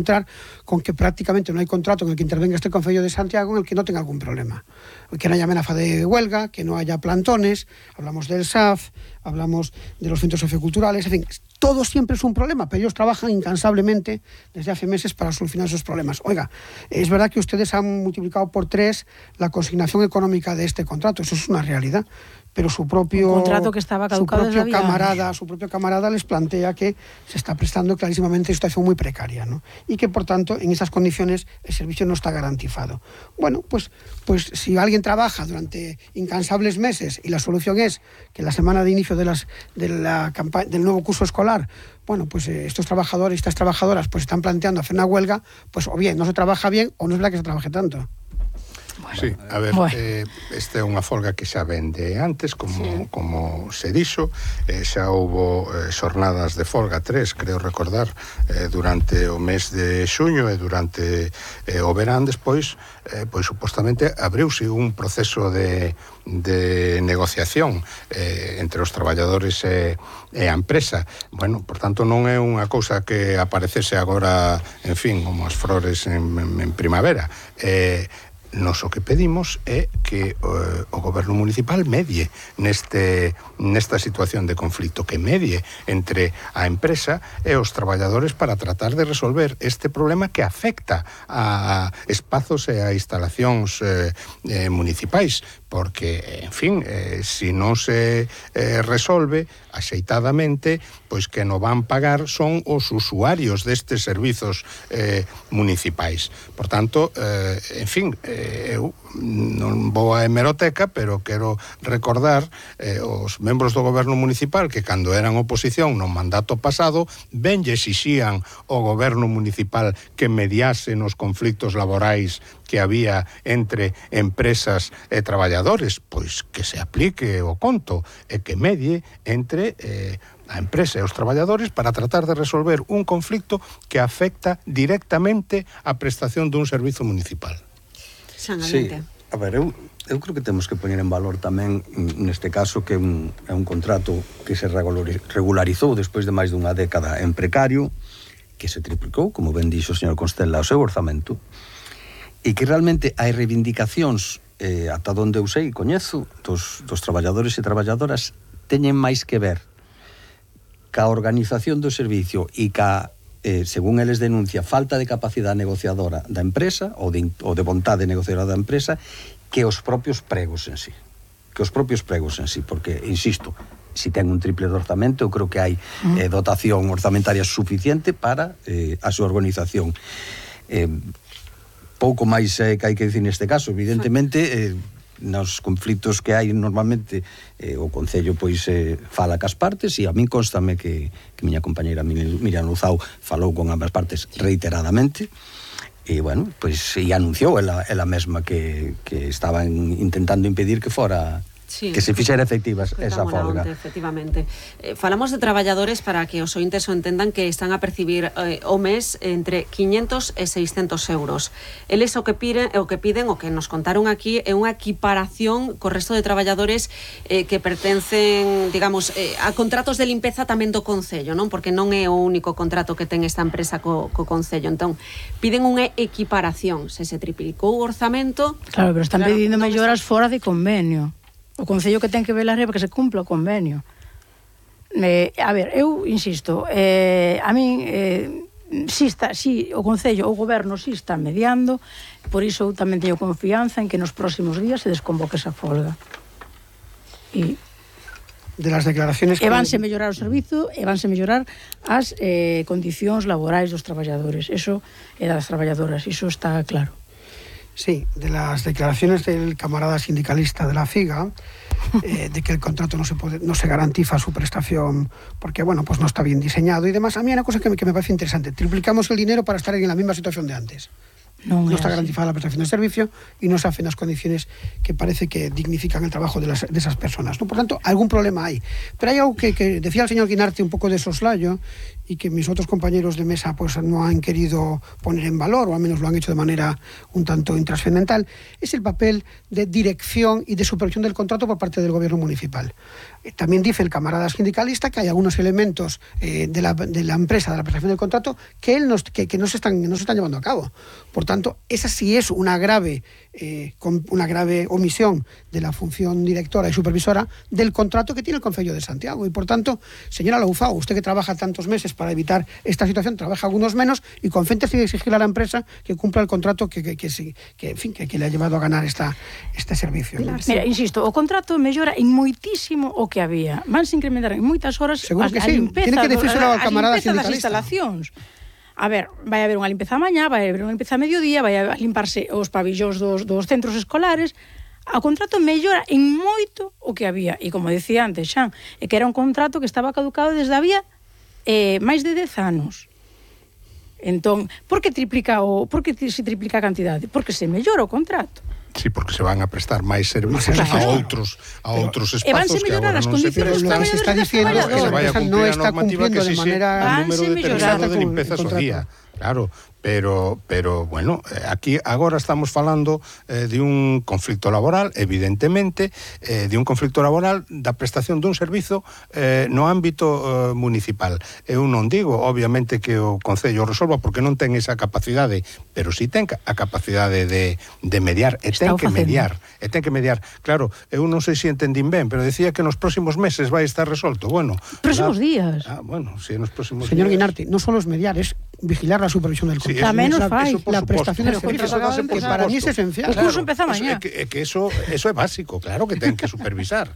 encontrar con que prácticamente no hay contrato en el que intervenga este Concello de Santiago en el que no tenga algún problema. Que no haya amenaza de huelga, que no haya plantones, hablamos del SAF, hablamos de los centros socioculturales, en fin, todo siempre es un problema, pero ellos trabajan incansablemente desde hace meses para solucionar esos problemas. Oiga, es verdad que ustedes han multiplicado por 3 la consignación económica de este contrato, eso es una realidad, pero su propio contrato que estaba caducado desde su propio camarada les plantea que se está prestando clarísimamente una situación muy precaria, ¿no? Y que por tanto en esas condiciones el servicio no está garantizado. Bueno, pues si alguien trabaja durante incansables meses y la solución es que la semana de inicio del nuevo curso escolar, bueno, pues estos trabajadores y estas trabajadoras pues están planteando hacer una huelga, pues o bien no se trabaja bien o no es verdad que se trabaje tanto. Sí, a ver, esta é unha folga que xa vende antes, como se dixo, xa houbo xornadas de folga, 3, creo recordar, durante o mes de xuño e durante o verán despois, pois supostamente abriuse un proceso de negociación entre os traballadores e a empresa. Bueno, por tanto, non é unha cousa que aparecese agora, en fin, como as flores en primavera. Nos o que pedimos é que o goberno municipal medie nesta situación de conflito, que medie entre a empresa e os traballadores para tratar de resolver este problema que afecta a espazos e a instalacións municipais, porque, en fin, se non se resolve axeitadamente, pois que non van pagar son os usuarios destes servizos municipais. Por tanto, en fin, eu non vou á hemeroteca, pero quero recordar os membros do goberno municipal que cando eran oposición no mandato pasado ben lle exixían ao goberno municipal que mediase nos conflitos laborais que había entre empresas e traballadores, pois que se aplique o conto e que medie entre a empresa e os traballadores para tratar de resolver un conflicto que afecta directamente a prestación dun servizo municipal. Sí, a ver, eu creo que temos que poñer en valor tamén neste caso que é un contrato que se regularizou despois de máis dunha década en precario, que se triplicou, como ben dixo o señor Constela, o seu orzamento, e que realmente hai reivindicacións ata onde eu sei e coñezo dos traballadores e traballadoras teñen máis que ver ca organización do servicio e ca según eles denuncia, falta de capacidade negociadora da empresa ou de vontade negociadora da empresa que os propios pregos en sí. Porque, insisto, si ten un triple de orzamento, eu creo que hai dotación orzamentaria suficiente para a súa organización. Pouco máis que hai que dicir neste caso, evidentemente nos conflitos que hai normalmente o Concello pois fala cas partes e a min constame que miña compañeira Miriam Luzao falou con ambas partes reiteradamente e bueno, pois e anunciou ela mesma que estaban intentando impedir que fora que se fixera efectiva esa folga. Efectivamente. Falamos de traballadores para que os ointes o entendan que están a percibir o mes entre 500 e 600 euros. Eles o que piden, o que nos contaron aquí, é unha equiparación co resto de traballadores que pertencen, digamos, a contratos de limpeza tamén do Concello, non? Porque non é o único contrato que ten esta empresa co Concello. Entón, piden unha equiparación. Se triplicou o orzamento... Claro, pero están pedindo melloras fora de convenio. O Concello que ten que velar é para que se cumpla o convenio. A ver, eu insisto, a min si o Concello, o Goberno si está mediando, por iso eu tamén teño confianza en que nos próximos días se desconvoque esa folga. E de las declaraciones que vanse mellorar o servizo e vanse mellorar as condicións laborais dos traballadores, eso e das traballadoras, iso está claro. Sí, de las declaraciones del camarada sindicalista de la FIGA, de que el contrato no se garantiza su prestación porque, bueno, pues no está bien diseñado y demás. A mí hay una cosa que me parece interesante. Triplicamos el dinero para estar en la misma situación de antes. No está garantizada la prestación de servicio y no se hacen las condiciones que parece que dignifican el trabajo de esas personas, ¿no? Por tanto, algún problema hay. Pero hay algo que decía el señor Guinarte un poco de soslayo y que mis otros compañeros de mesa pues no han querido poner en valor, o al menos lo han hecho de manera un tanto intrascendental, es el papel de dirección y de supervisión del contrato por parte del gobierno municipal. También dice el camarada sindicalista que hay algunos elementos de la empresa, de la prestación del contrato, que no se están llevando a cabo. Por tanto, esa sí es una grave omisión de la función directora y supervisora del contrato que tiene el Concello de Santiago. Y por tanto, señora Louzao, usted que trabaja tantos meses para evitar esta situación, trabaja algunos menos y concéntrese en exigir a la empresa que cumpla el contrato que le ha llevado a ganar este servicio. ¿No? Mira, insisto, o contrato mellora en moitísimo o que había. Vanse incrementar en moitas horas a limpeza das instalacións. A ver, vai haber unha limpeza a mañá, vai haber unha limpeza a mediodía, vai a limparse os pabillóns dos centros escolares. O contrato mellora en moito o que había. E como decía antes, Xan, é que era un contrato que estaba caducado desde había máis de 10 anos. Entón, por que se triplica a cantidade? Porque se mellora o contrato. Sí, porque se van a prestar máis servicios a outros espazos que agora non se prestan. Lo que se está diciendo é que a empresa non está cumplindo de manera número determinado de limpezas ao día. Claro, pero bueno, aquí agora estamos falando de un conflicto laboral, evidentemente, de un conflicto laboral da prestación dun servizo no ámbito municipal. Eu non digo, obviamente, que o Concello resolva porque non ten esa capacidade, pero si ten a capacidade de mediar, e ten que mediar. Claro, eu non sei se entendín ben, pero decía que nos próximos meses vai estar resolto. Bueno, próximos días. Bueno, si nos próximos días. Señor Guinarti, non só es mediar, es vigilar la supervisión del contrato. Tamén nos fai. La prestación del servicio, que para mí es esencial. O curso empeza mañá. Que eso é básico, claro que ten que supervisar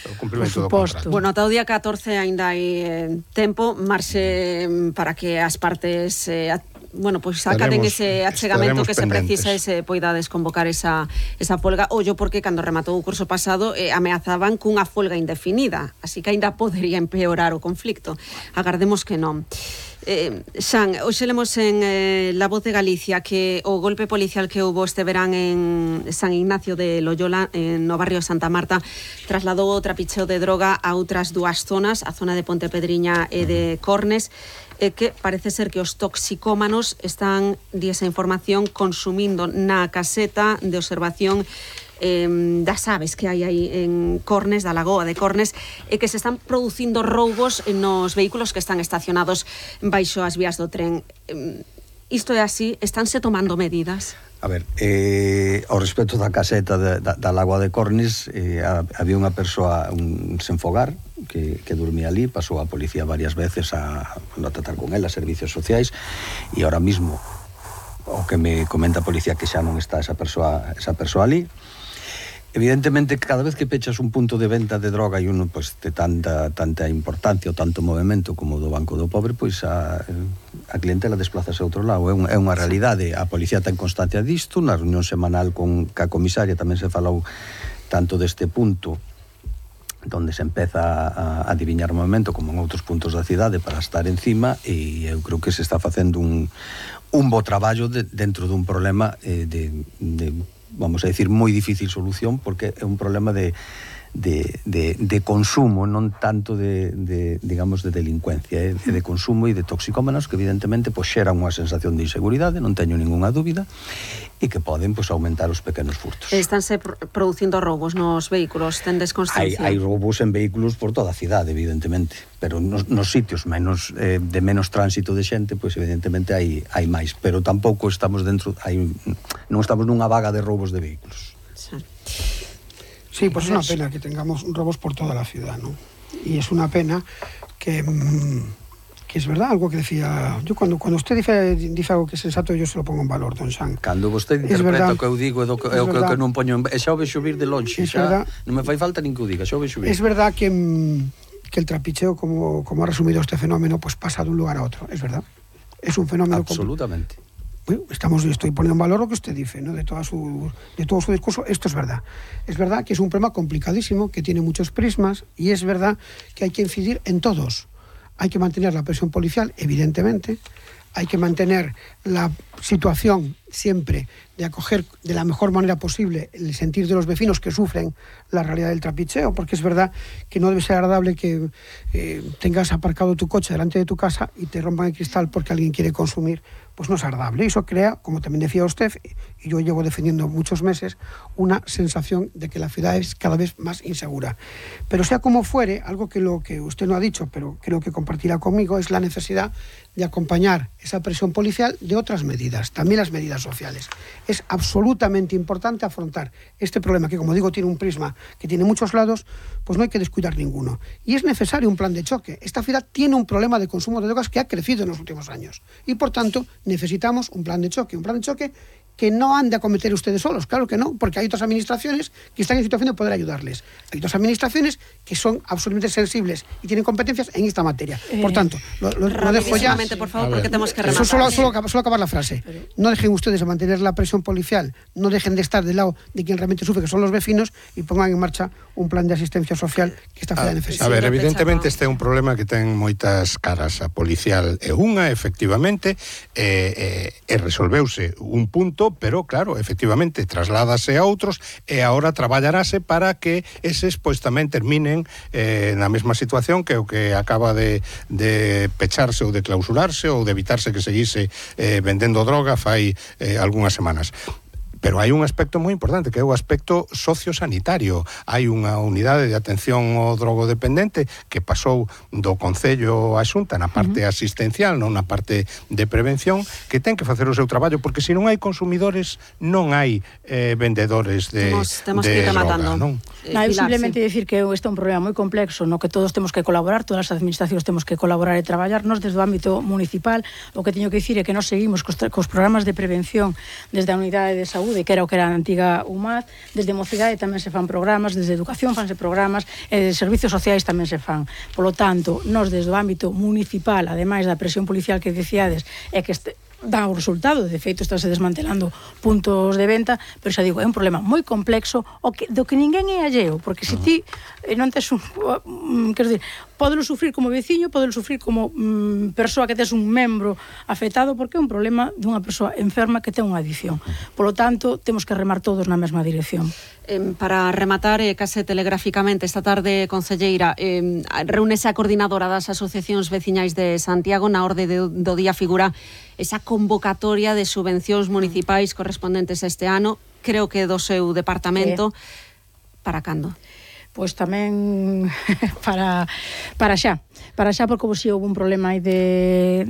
o cumprimento do contrato. Bueno, ata o día 14 ainda hai tempo, marxe para que as partes acaden ese achegamento que se precisa e se poidades convocar esa folga. Ollo porque cando rematou o curso pasado ameazaban cunha folga indefinida, así que ainda podería empeorar o conflicto. Agardemos que non. Xan, hoxe lemos en La Voz de Galicia que o golpe policial que houbo este verán en San Ignacio de Loyola, no barrio Santa Marta, trasladou o trapicheo de droga a outras dúas zonas, a zona de Pontepedriña e de Cornes, que parece ser que os toxicómanos están, di esa información, consumindo na caseta de observación das aves que hai aí en Cornes, da lagoa de Cornes, e que se están producindo roubos nos vehículos que están estacionados baixo as vías do tren. Isto é así? Estánse tomando medidas? A ver, ao respecto da caseta da lagoa de Cornes, había unha persoa, un senfogar, que dormía ali, pasou a policía varias veces a tratar con ela, servicios sociais, e ahora mismo o que me comenta a policía que xa non está esa persoa ali. Evidentemente, cada vez que pechas un punto de venta de droga e uno de tanta importancia ou tanto movimento como do Banco do Pobre, pois a clientela desplázase a outro lado. É unha realidade. A policía ten constancia disto. Na reunión semanal ca comisaria tamén se falou tanto deste punto donde se empeza a adiviñar o movimento como en outros puntos da cidade para estar encima, e eu creo que se está facendo un bo traballo dentro dun problema vamos a decir, moi difícil solución, porque é un problema de consumo, non tanto digamos, de delincuencia, de consumo e de toxicómanos que evidentemente xeran unha sensación de inseguridade, non teño ningunha dúbida, e que poden aumentar os pequenos furtos. Estánse producindo roubos nos vehículos, tendes constancia? Hai roubos en vehículos por toda a cidade, evidentemente, pero nos sitios de menos tránsito de xente, pois evidentemente hai máis, pero tampouco estamos non estamos nunha vaga de roubos de vehículos. Sí, pues es una pena que tengamos robos por toda la ciudad, ¿no? Y es una pena que es verdad, algo que decía... Yo cuando usted dice algo que es sensato, yo se lo pongo en valor, don Xan. Cando vostede interpreta o que eu digo é o que non poño en... xa o vexo vir de lonxe, xa non me fai falta nin que o diga, xa o vexo vir. Es verdad que el trapicheo, como ha resumido este fenómeno, pues pasa de un lugar a otro, es verdad. Es un fenómeno... Absolutamente. Bueno, estoy poniendo en valor lo que usted dice, ¿no? de todo su discurso. Esto es verdad. Es verdad que es un problema complicadísimo, que tiene muchos prismas, y es verdad que hay que incidir en todos. Hay que mantener la presión policial, evidentemente. hay que mantener la situación siempre de acoger de la mejor manera posible el sentir de los vecinos que sufren la realidad del trapicheo, porque es verdad que no debe ser agradable que tengas aparcado tu coche delante de tu casa y te rompan el cristal porque alguien quiere consumir. Pues no es agradable. Eso crea, como también decía usted, y yo llevo defendiendo muchos meses, una sensación de que la ciudad es cada vez más insegura. Pero sea como fuere, algo que lo que usted no ha dicho, pero creo que compartirá conmigo, es la necesidad de acompañar esa presión policial de otras medidas, también las medidas sociales. Es absolutamente importante afrontar este problema que, como digo, tiene un prisma que tiene muchos lados, pues no hay que descuidar ninguno. Y es necesario un plan de choque. Esta ciudad tiene un problema de consumo de drogas que ha crecido en los últimos años y, por tanto, necesitamos un plan de choque que no han de acometer ustedes solos, claro que no, porque hay otras administraciones que están en situación de poder ayudarles. Hay otras administraciones que son absolutamente sensibles y tienen competencias en esta materia. Por tanto, lo dejo ya. Por favor, porque tenemos que rematar. Solo acabar la frase. No dejen ustedes de mantener la presión policial, no dejen de estar del lado de quien realmente sufre, que son los vecinos, y pongan en marcha un plan de asistencia social que esta ciudad necesita. A ver, evidentemente este é un problema que ten moitas caras. A policial é unha, efectivamente, e resolveuse un punto, pero claro, efectivamente trasládase a outros e agora traballarase para que eses pois tamén terminen na mesma situación que o que acaba de pecharse ou de clausurarse ou de evitarse que seguise vendendo droga fai algunhas semanas. Pero hai un aspecto moi importante, que é o aspecto sociosanitario. Hai unha unidade de atención ao drogodependente que pasou do Concello á Xunta na parte asistencial, non na parte de prevención, que ten que facer o seu traballo, porque se non hai consumidores, non hai vendedores de droga, non? Simplemente decir que este é un problema moi complexo, no que todos temos que colaborar, todas as administracións temos que colaborar e traballar. Nos desde o ámbito municipal, o que teño que dicir é que nos seguimos cos programas de prevención desde a unidade de saúde, que era o que era a antiga UMAD, desde Mocidade tamén se fan programas, desde Educación fanse programas, e de Servicios Sociais tamén se fan. Polo tanto, nos desde o ámbito municipal, ademais da presión policial que dicíades, é que dá o resultado, de feito estáse desmantelando puntos de venta, pero xa digo, é un problema moi complexo do que ninguén é alleo, porque se ti non tes quero dizer, podelo sufrir como veciño, podelo sufrir como persoa que tes un membro afectado, porque é un problema dunha persoa enferma que ten unha adicción. Polo tanto, temos que remar todos na mesma dirección. Para rematar, case telegráficamente, esta tarde, concelleira, reúnese a coordinadora das asociacións veciñais de Santiago. Na orde do día figura esa convocatoria de subvencións municipais correspondentes este ano, creo que do seu departamento. Para cando? Pois tamén para xa, porque si houve un problema aí de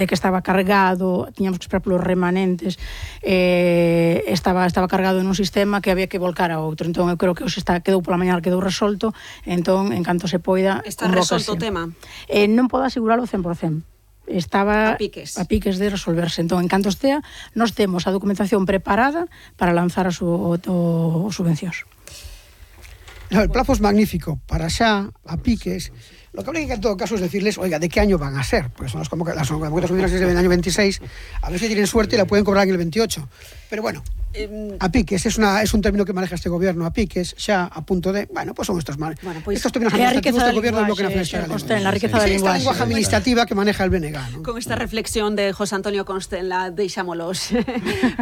que estaba cargado, tiñamos que esperar polos remanentes, estaba cargado nun sistema que había que volcar a outro. Entón eu creo que hoxe quedou pola mañá, quedou resolto, entón en canto se poida está resolto o tema? Non podo asegurarlo 100%. Estaba a piques de resolverse. Entón, en canto estea, nós temos a documentación preparada para lanzar as subvencións. No, el plazo es magnífico, para xa, a piques. Lo que habría que en todo caso es decirles, oiga, ¿de qué año van a ser? Porque son las convocatorias del año 26, a ver si tienen suerte y la pueden cobrar en el 28. Pero bueno, a piques, es un término que maneja este gobierno, a piques, xa, a punto de... Bueno, pues son estos estos términos administrativos del gobierno del Bloque Nacionalista Galego. La riqueza del lenguaje. Esta lenguaje administrativa que maneja el BNG, ¿no? Con esta reflexión de José Antonio Constenla, deixámolos.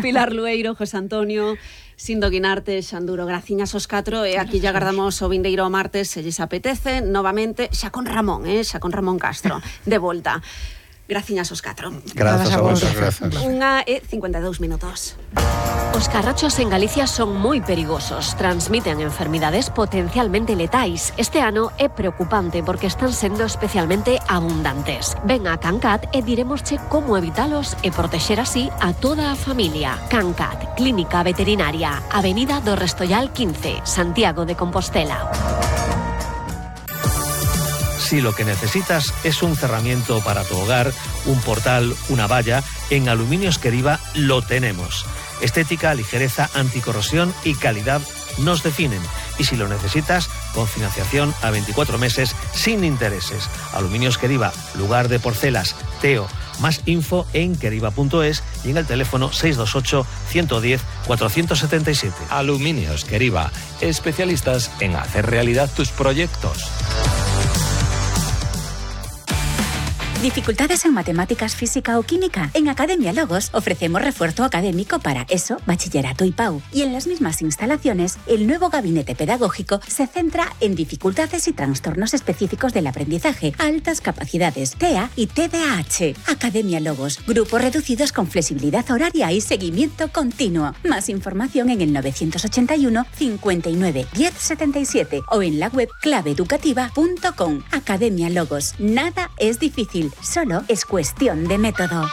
Pilar Lueiro, José Antonio, Sindo Guinarte, Xanduro, graciñas aos 4, e aquí ya agardamos o vindeiro martes, se lles apetece, novamente, xa con Ramón Castro, de volta. Graciñas aos 4. Grazas a vos. 1:52 minutos. Os carrachos en Galicia son moi perigosos, transmiten enfermidades potencialmente letais. Este ano é preocupante porque están sendo especialmente abundantes. Ven a Cancat e diremosche como evitalos e protexer así a toda a familia. Cancat, Clínica Veterinaria, Avenida do Restollal 15, Santiago de Compostela. Si lo que necesitas es un cerramiento para tu hogar, un portal, una valla, en Aluminios Queriva lo tenemos. Estética, ligereza, anticorrosión y calidad nos definen. Y si lo necesitas, con financiación a 24 meses sin intereses. Aluminios Queriva, lugar de porcelas, Teo. Más info en queriva.es y en el teléfono 628 110 477. Aluminios Queriva, especialistas en hacer realidad tus proyectos. ¿Dificultades en matemáticas, física o química? En Academia Logos ofrecemos refuerzo académico para ESO, bachillerato y PAU. Y en las mismas instalaciones, el nuevo gabinete pedagógico se centra en dificultades y trastornos específicos del aprendizaje, altas capacidades, TEA y TDAH. Academia Logos, grupos reducidos con flexibilidad horaria y seguimiento continuo. Más información en el 981 59 10 77 o en la web claveeducativa.com. Academia Logos. Nada es difícil, solo es cuestión de método.